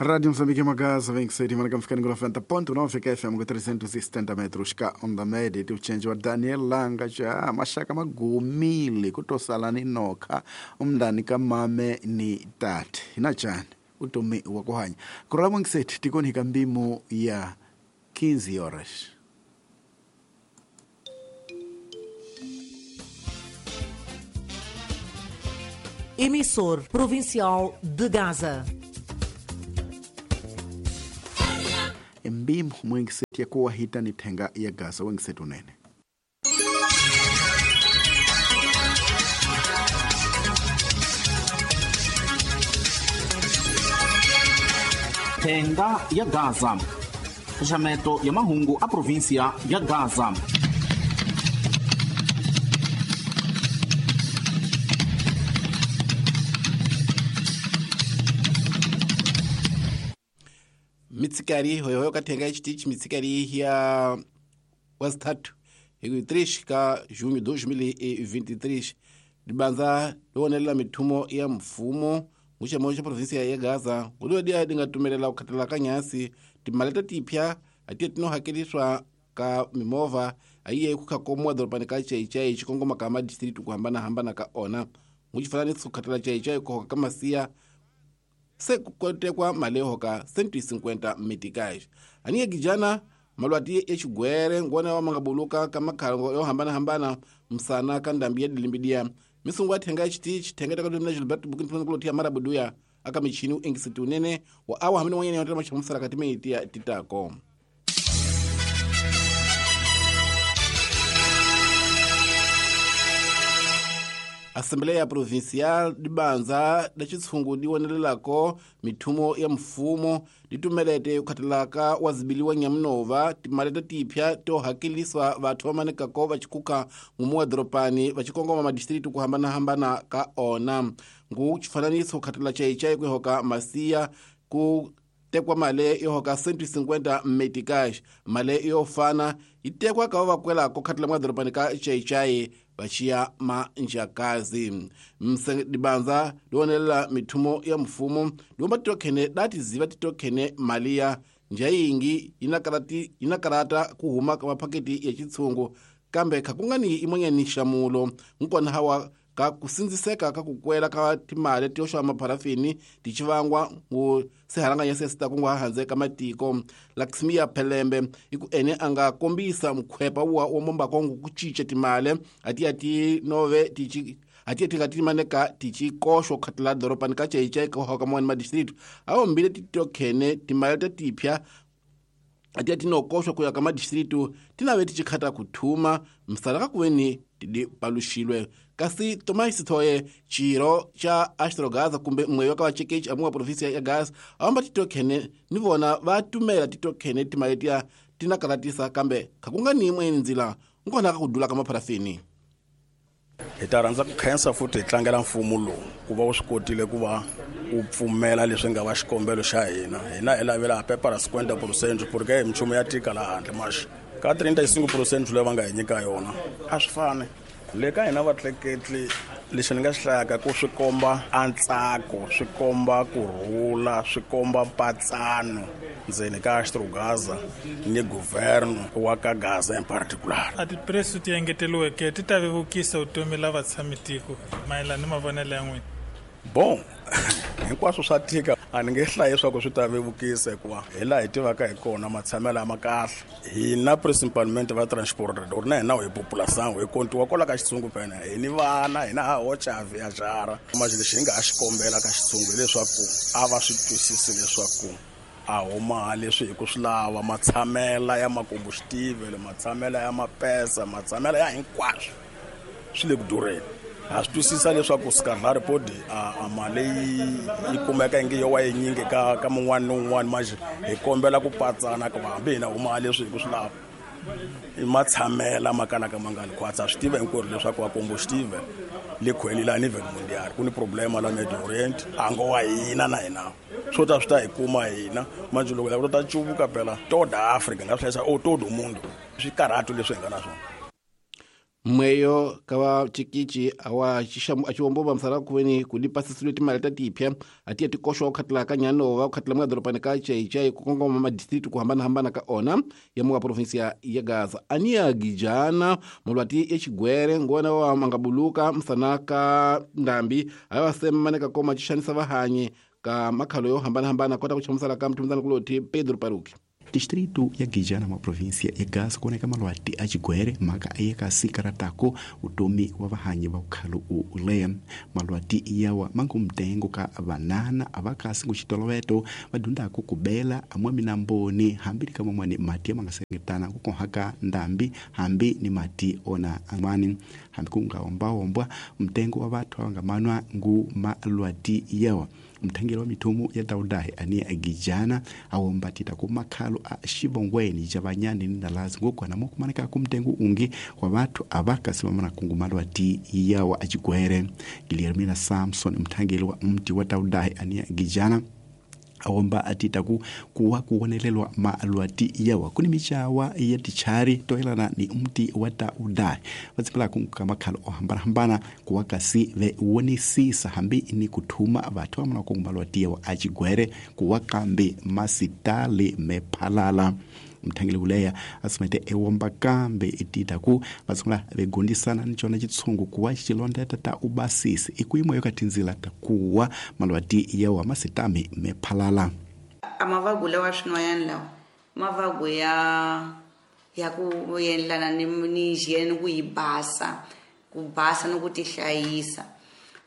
Rádio Moçambique Magaza, vem que ser mana kamfikani ngula 90.9 FM ku 370 metros ka onda média tiuchenji wa Daniel Langa cha mashaka magumile kutosala ni nokha umndani ka mame ni tate inachani utomi wa kuhanya kurala mwangiseti tikoni kambimo ya 15 horas. Emissor Provincial de Gaza. Mbimo mwengiseti yakuwa hita ni tenga ya Gaza wengiseti unene. Thenga ya Gaza. Xaxameto ya mahungu a província ya Gaza. Mitsikari hoyohoyo kathenga xitichi mitsikari ya wazithathu hi 3 ka junho 2023 libanza liwonelela mithumo ya mfumo nguxemo xa província ya Gaza nguliwa dia di nga tumelela ku khatela ka nyasi timali ta tipya atiye tino hakeliswa ka mimovha ayiye ku khakomiwa dorobani ka Chaichai xikongoma ka madistritu ku hambanahambana ka ona nguxifananiso ku khatela Chaichai ku hoka ka masiya se ku kotekwa mali yo hoka 150 meticais aniye gijana malwati ya xigwere ngona wa mangabuluka ka makhalango yo hambanahambana msana ka ndambi ya dilimbidia misungu athenga xitichi thenga ta ka Gilbert Bukin kulo tia marabuduya aka michini u engisiti unene wa awa hamini wanyene yotela machamusala kati meiti ya titako. Assembleia Provincial dibanza da xitshungu di wonelelako mithumo ya mfumo ditumelete kukhathalaka wa zibiliwa nyamunova timali ta tipya to hakeliswa vathu va manekako va xikuka ngumu wa doropani va xikongoma madistritu ku hambanahambana ka ona ngu xifananiso kukhathela Chaichai ku hoka masiya ku tekwa mali yo hoka 150 meticais mali yo fana yi tekwa ka va kwelako khathela mwa doropani ka Chaichai vaxiya manjakazi dibanza liwonelela mithumo ya mfumo liwomba titokhene datiziva titokhene mali ya njayingi yina karata ku huma ka maphaketi ya xitshungu kambe khakungani imonyani nxamulo nkona hawa ka ku sindziseka ka ku kwela ka timali to xava mapharafini ti xivangwa ngu sihalanganya sesita ku nga handze ka matiko Laxmia Phelembe i ku ene a nga kombisa mkhwepa wa wa mombakongo ku cinca timali ati ti nove ti ati ti nga ti maneka ti ci koxo khatela doropani ka Chaichai ka hoka mwana ma district awo mbile ti tokhene timali ta tipya ati ti no koxo ku ya ka ma district ti nave ti xikhata ku thuma msala ka kuweni ti paluxilwe kasi Tomás Sithoye xirho xa Astrogaza kumbe mwe wa ka vacekechi amuwa província ya Gaza awamba titokhene ni vona va tumela titokhene timali tiya ti na karatisa kambe khakunga ni yin'we ndzila nkona ka ku dula ka mapharafini. Hi ta rhandza ku khensa futhi hi tlangela mfumo lowu ku va wu swi kotile ku va wu pfumela leswi nga va xikombelo xa hina hina hi lavela pepa ra 50% porque hi minchumu ya tika laha handle maxi ka 35% leyi va nga hi nyika yona a swi fani le ka hina vatleketli lexi ni nga xi hlayaka ku swi komba antsako swi komba kurhula swi komba mpatsano ndzeni ka Astrogaza ni governo wa ka Gaza in particular. A tipreso ti engeteriweke ti ta vevukisa vutomi la vatshamitiko mayelana ni mavonelo ya n'wina. Bon, hinkwaswo swa tika a ni nge hlayi leswaku swi ta vevukisa hikuva hi laha hi tivaka hi kona matshamelo ma kahle hina principalmente va transport or na hina hi population hi kontiwa kwala ka xitshungu phela hi ni vana hina ha hoxa viajara manje lexi hi nga ha xi kombela ka xitshungu hileswaku a va swi twisisi leswaku a huma leswi hi ku swi lava matshamela ya makombuxitivele matshamela ya mapesa matshamela ya hinkwaswo swi le ku durheni. Ha swi twisisa leswaku Skadlari podi a mali yi kumeka inge yo wa yinyingi ka mun'wana ni un'wana manje hi kombela ku patsana ku hambi hina huma leswi hi ku swi lava i matshamela ma kalaka ma nga li khwatsa swi tiva hinkwerhu leswaku vakombuxitive le khweni la ni mundial ku ni problema la Middle Orient a ngo wa hina na hina swo ta swi ta hi kuma hina manje loko lava ta cuvuka phela toda Africa nga swi hlayisa o todo mundo swi karhatu leswi hi nga na swona. Mweyo ka chikichi awa achiwombomba msala kuweni kudipasisile timali ta tipya atiya tikoxwa kukhatila ka nyanova kukhatila mukadhoropani ka Xai-Xai kukongoma madistritu kuhambanahambana ka ona ya muka provinsia ya Gaza. Aniya Gijana mulwati ya xigwere ngona wa mangabuluka msana ka ndambi ayo asemane kakoma xixanisa vahanyi ka makhalo yo hambanahambana kota ku chamusala ka mthumuzana kuloti Pedro Paruki. Distrito ya Gijana mwa província ya Gaza kuoneka malwati a xigwere mhaka ayekasikaratako utomi wa vahanyi va ukhalo uleya. Malwati yawa mangu mtengo ka vanana avakasi nguxitoloveto va dyondzaka ku bela amwa minamboni hambi ni ka man'wani mati ya mangasengetana ku kohaka ndambi hambi ni mati ona an'wani hambi ku nga ombaombwa mtengo wa vathu va nga manwa ngu malwati yawa. Mthangeli wa mithumu ya Taudahi aniya Gijana awombatita ku makhalo a xivongweni xa vanyani ni ndalazi ngokwana mo kumaneka ku mtengo ungi wa vathu avakasi vamana kungu malwati yawa a xigwere. Guilhermina Samson mthangeli wa mti wa Taudahi aniya Gijana awomba atita ku kuwa kuwonelelwa malwati yawa kuni michawa ya tichari toelana ni mti wa Taudahi vatsipela ka makhalo o hambanahambana kuwa kasi ve wonisisa hambi ni kuthuma vathu vamana kungu malwati yawa a xigwere kuwa kambe masitali mephalala. Mthangeli uleya asimete ewomba kambe itita ku vatsungula vegondisana ni cona xitshungu kuwa xilondeta ta ubasisi ikuimo yo ka tindzila ta kuwa malwati yawa masitami mephalala. A mavagu lawa swin'wanyana lawa mavagu ya ku endlana ni hygiene ku yi basa ku basa ni ku tihlayisa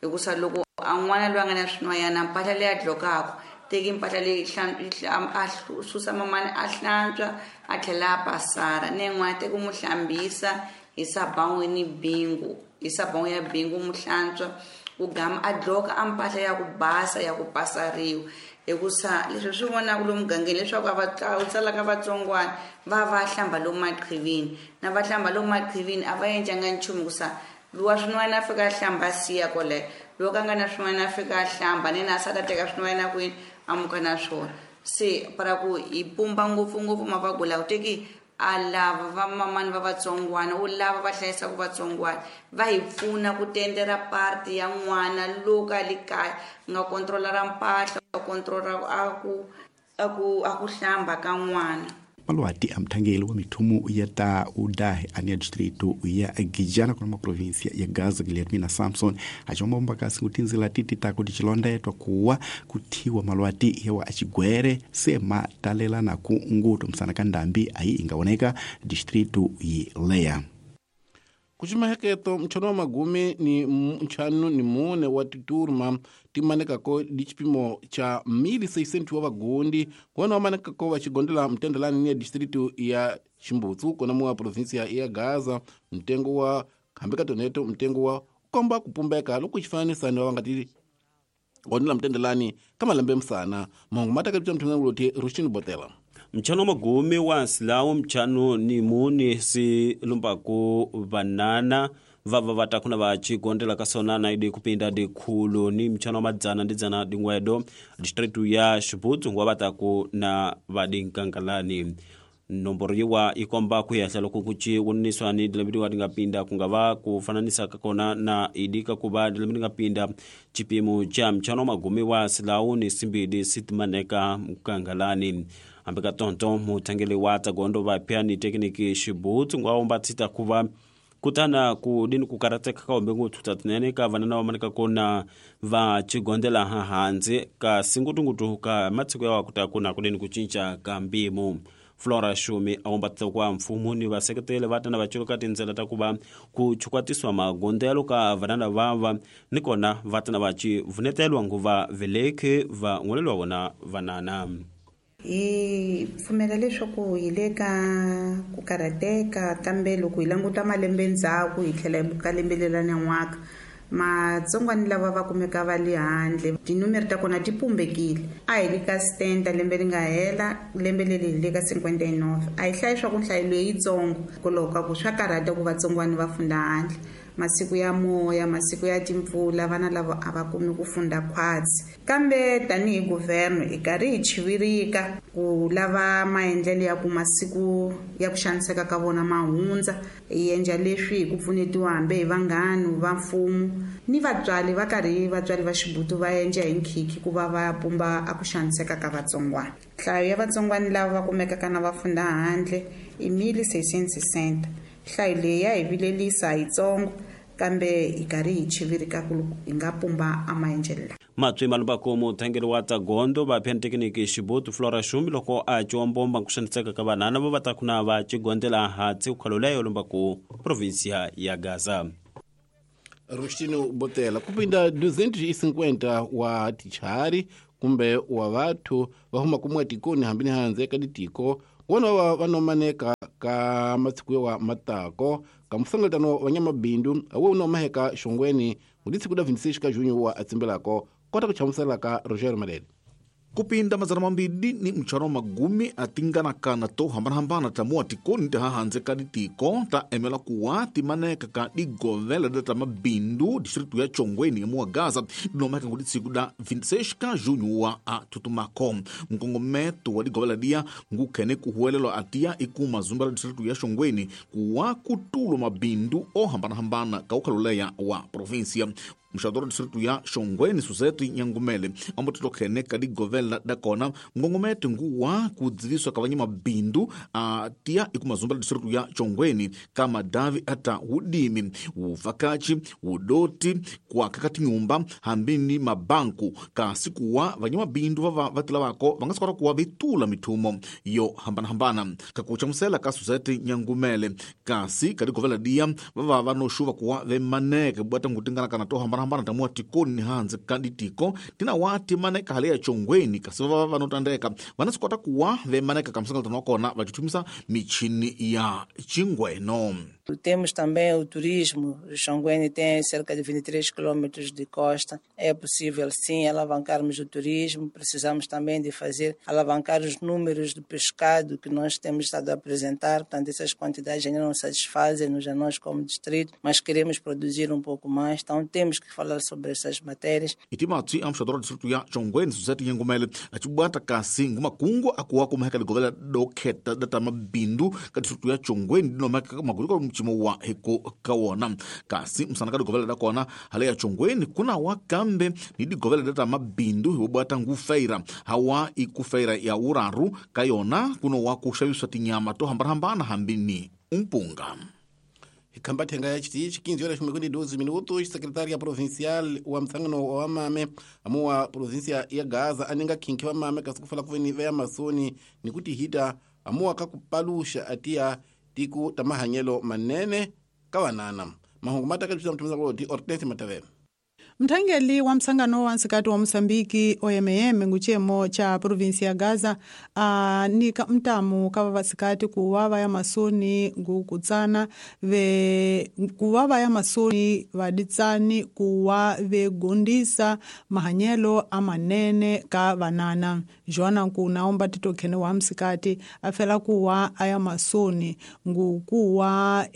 hikusa loko a n'wana loyi a nga na swin'wanyana mpahla leyi a dlokaka teki mpahla leyi a susa mamani a hlantswa a tlhela a pasara ni yin'wana teki mu hlambisa hi saban'we ni bingu hi saban'we ya bingu mu hlantswa ku gama a dloka a mpahla ya ku basa ya ku pasariwa hikusa leswi swi vonaka lomu mugangeni leswaku a va tsalaka vatsongwana va hlamba lomu maqhivini na va hlamba lomu maqhivini a va endlanga nchumu hikusa luwa swin'wana a fika a hlamba siya kwaleyo loko a nga na swin'wana a fika a hlamba ni na a sala teka swin'wana kwini amuka na swona se para ku hi pumba ngopfungopfu mavagu lawa teki a lava va mamani va vatsongwana u lava va hlayisaka vatsongwana va hi pfuna ku tendera parti ya n'wana loko a le kaya nga controla ra mpahla controla a ku hlamba ka n'wana. Malwati a mthangeli wa mithumu ya Taudahi aniya distrito ya Gijana kuna maprovinsia ya Gaza Guilhermina Samson achombomba kasi kutinzila titi tako tichilondetwa kuwa kuthiwa malwati yawa axigwere se matalelana ku nguto msana ka ndambi ayi ingaoneka distrito yileya. Kuximaheketo ntlhanu wa magumi ni ntlhanu ni mune wa titurma ti manekako di xipimo xa 1600 wa vagondi kona wa manekako va xigondela mtendelani ni ya distritu ya Ximbutsu kona mu wa provinsia ya Gaza. Mtengo wa hambi ka toneto mtengo wa komba kupumbeka loko xifananisa ni wa nga ti gondela mtendelani ka malembe msana mahungu ma taka mthungulo Rushini Botela. Mchano magumi wa silawu mchano ni muni si lumbaku banana vava vatakuna vachigondela kasona na idi kupinda dikhulu ni mchano madzana ndi dzana dingwedo distritu ya Xibutsu ngwa vataku na vadinkankalani. Nomboro yiwa ikomba kuyahla loko kuchi woniswa ni dilembe dingapinda kungava kufananisa kakona na idika kuba dilembe dingapinda chipimo cha mchano magumi wa silawu ni simbidi sitimaneka mkangalani. Ambeka tonto mutangeli wa tagondo vapya ni tekniki Xibutsu ngwa tsita kuva kutana kudini kukarateka ka ombe nguthu tatinene ka vanana va maneka kona va chigondela hanzi ka singutungutu ka matsiko ya kuta kuna kudini kucinca ka mpimo. Flora Shumi awombatisa kwa mfumo ni vaseketeli va tana va culuka tindzela ta kuva ku chukwatiswa magondelo ka vanana vava ni kona va tana va ci vunetelwa nguva veleki va ngolelwa vona vanana. Hi pfumela leswaku hi le ka ku karhateka kambe loko hi languta malembe ndzhaku hi tlhela hi ka lembe leri nyan'waka matsongwani lava va kumeka va le handle tinumere ta kona ti pumbekile a hi le ka stenta lembe ri nga hela lembe leri hi le ka 59 a hi hlayi swa ku nhlayo leyitsongo hikwalaho ka ku swa karhata ku vatsongwani va funda handle Masiku ya moya, masiku ya timpfula, vana lava a va kumi ku funda khwatsi. Kambe tanihi guvherno hi karhi hi chivirika ku lava maendlelo ya ku masiku ya ku xaniseka ka vona ma hundza. Hi endla leswi hi ku pfunetiwa hambi hi vanghana va mfumo ni vatswari va karhi vatswari va xibutu va endla hi nkhikhi ku va va pumba a ku xaniseka ka vatsongwana. Nhlayo ya vatsongwana lava va kumekaka na va funda handle i 1660. Nhlayo leyi ya hi vilelisa yitsongo kambe hi karhi hi chivirika ku hi nga pumba a maendlelo lawa. Matswi malumbako muthangeli wa tsagondo va phentekiniki xibutu Flora Xumi loko a ciwa mbomba ku xaniseka ka vanhana va va ta kuna va cigondela hatsi ukhaloleyo lumbaku provinsia ya Gaza. Rustino Botela kupinda 250 wa tichari kumbe wa vathu va huma kumwe tikoni hambi ni handze ka ditiko wona va va nomaneka ka masiku wa matako ka muhlengeletano wa nyamabindu awo nomaheka xongweni ngudisiku da 26 ka junho wa atsimbelako kota ku chamusela ka Roger Malele. Kupinda 250 atinganakana to hambanahambana ta mua tikoni ta hahandze ka ditiko ta emela kuwa timaneka ka digovela da ta mabindu distritu ya Chongweni mua Gaza dinomeka ngudisiku da 26 ka junho wa a tutumako. Mkongometo wa digovela dia ngukhene kuhuelelwa atia ikuma zumba la distritu ya Chongweni kuwa kutulo mabindu o hambanahambana ka ukhaloleya wa provinsia. Mxadoro distritu ya Xongweni Suzete Nyangumele ambotitokhene ka digovela da kona mngongomete nguwa kudziviswa ka vanyamabindu a tia ikumazumba la distritu ya Chongweni ka madavi ata wudimi wuvakachi wudoti kuaka ka tinyumba hambini mabanku kasi kuwa vanyamabindu vava vatila vako vangasikota kuwa vitula mithumo yo hambanahambana. Kakuchamusela ka Suzete Nyangumele kasi ka digovela dia vava vanoxuva kuwa vemaneke bwata ngutinganakana to hambana tamua tikoni ni handze ka ditiko tina wati maneka hale ya Chongweni kasi vava vanotandeka vanasikota kuwa vemaneka ka msangalatano wa kona vachithumisa michini ya chingweno. Temos também o turismo. O Xongweni tem cerca de 23 quilômetros de costa. É possível, sim, alavancarmos o turismo. Precisamos também de fazer, alavancar os números de pescado que nós temos estado a apresentar. Portanto, essas quantidades ainda não satisfazem-nos a nós como distrito, mas queremos produzir um pouco mais. Então, temos que falar sobre essas matérias. Itimatsi amxadora distrito ya Xongweni Suzete Nyangumele acibwata kasi ngumakungu akuwa kumaheka ligovela dokheta data mabindu ka distrito ya Xongweni dinomaka maguliko mchimo wa heko kawona kasi msana ka digovela da kona hale ya Xongweni kuna wa kambe ni digovela data mabindu hiwobwata ngufeira hawa ikufeira ya uraru kayona kuno wa kuxaviswa tinyama to hambanahambana hambini umpunga. Ikhamba thenga ya chitichi 15 horas 52 minutos. Secretária provincial wa msangano wa mame amuwa província ya Gaza aninga khinkhi wa mame kasi kufala kuveni veya masoni ni kuti hita amuwa kakupalusha atia tiku tamahanyelo manene kawanana mahungu mataka tshisa mthumisa kuti Hortense Matavele. Mthangeli wa msangano wa nsikati wa Mosambiki OMM nguchemo cha provinsi ya Gaza nika mtamu ka vavasikati kuwa vaya masoni ngukutsana ve kuwa vaya masoni vaditsani kuwa vegondisa mahanyelo amanene ka vanana. Joana nkunaomba titokhene wa msikati afela kuwa aya masoni ngukuwa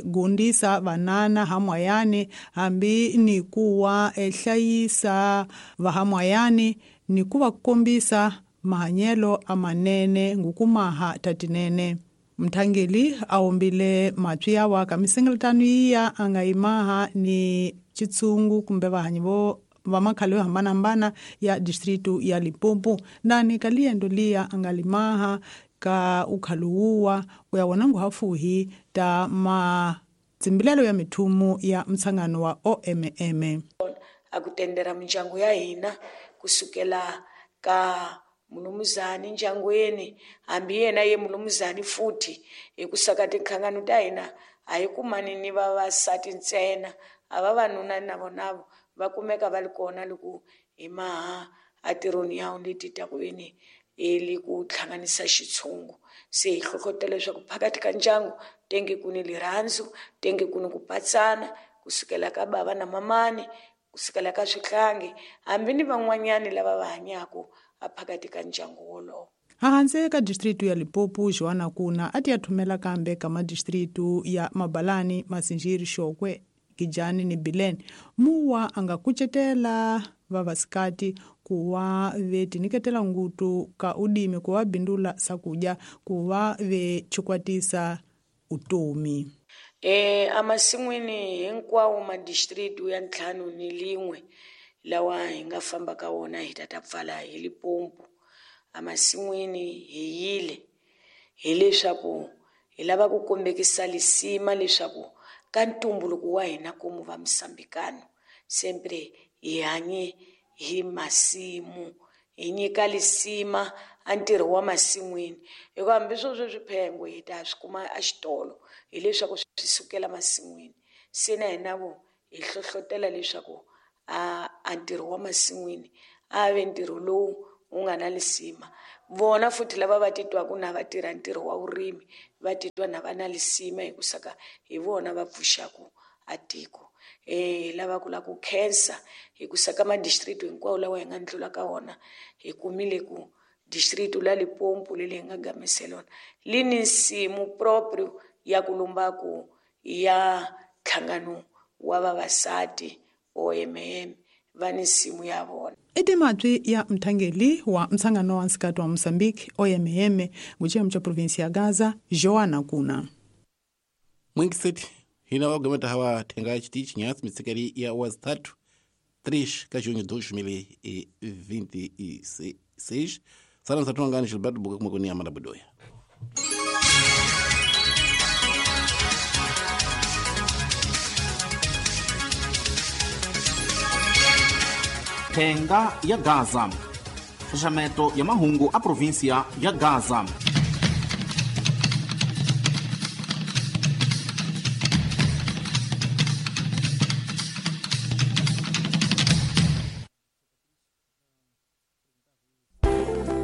gondisa vanana hamwayani hambi ni kuwa hlayisa vahamwayani ni kuva kukombisa mahanyelo amanene ngukumaha tatinene. Mthangeli aombile matswi yawa ka misengeletano iya angayimaha ni chitsungu kumbe vahanyi vo va makhalo yo hambanahambana ya distritu ya Limpopo ndani ka liendo liya angalimaha ka ukhaluwuwa kuya wona nguhafuhi ta matsimbilelo ya mithumu ya mtsangano wa OMM. Akutendera mindyangu ya hina kusukela ka mulumuzani ndyangweni hambi yena ye mulumuzani futhi hi ku saka tinhlangano ta hina a hi kumani ni vavasati ntsena a vavanuna na vona va kumeka va ri kona loko hi maha atirhoni ya leti ta ku yini li ku hlanganisa xitshungu se hi hlohlotela leswaku phakathi ka ndyangu tenge ku ni lirhandzu tenge ku ni ku patsana kusukela ka bava na mamani kusukela ka swihlangi hambi ni van'wanyani lava va hanyaka aphakathi ka ndyangu wolowo. Hahandze ka distritu ya Limpopo Joana Kuna ati ya thumela kambe ka madistritu ya Mabalani, Masinjiri, Xokwe Gijani ni Bilene muwa anga kucetela vavasikati kuwa vetiniketela ngutu ka udimi kuwa bindula sakuja kuwa vechikwatisa utomi. Amasin'wini hinkwawo madistrict ya 51 lawa hi nga famba ka wona hi tata pfala hi Limpopo. Amasin'wini hi yile hileswaku hi lava ku kombekisa lisima leswaku ka ntumbuluko wa hina komu va Mosambikano sempre hi hanye hi masimu, hi nyika lisima a ntirho wa masin'wini, hikuva hambi swo sweswi phengo hi ta swi kuma exitolo hileswaku swi sukela masin'wini. Se na hina vo hi hlohlotela leswaku a ntirho wa masin'wini a ve ntirho lowu wu nga na lisima. Vona futhi lava va titwaka na va tirha ntirho wa vurimi va titwa na va na lisima hikusaka hi vona va pfuxaka a tiko. Lava ku la ku khensa hikusa ka madistrict hinkwawo lawa hi nga ndlula ka wona hi kumile ku district la Limpopo leli hi nga gamisela yona li ni nsimu proprio ya ku lumbaku ya nhlangano wa vavasati OMM va ni nsimu ya vona. I timatwi ya mthangeli wa msangano wa nsikati wa Mosambiki OMM nguciyemu cha provinsi ya Gaza Joana Kuna. Mwingiseti hina wagameta hawa thenga chitichi nyasi mitsekeli ya wazitatu 3 ka junho 2026. Sala nsathu Gilberto Buka kumwe kuni Amanda Budoya. Thenga ya Gaza, xaxameto ya mahungu a província ya Gaza.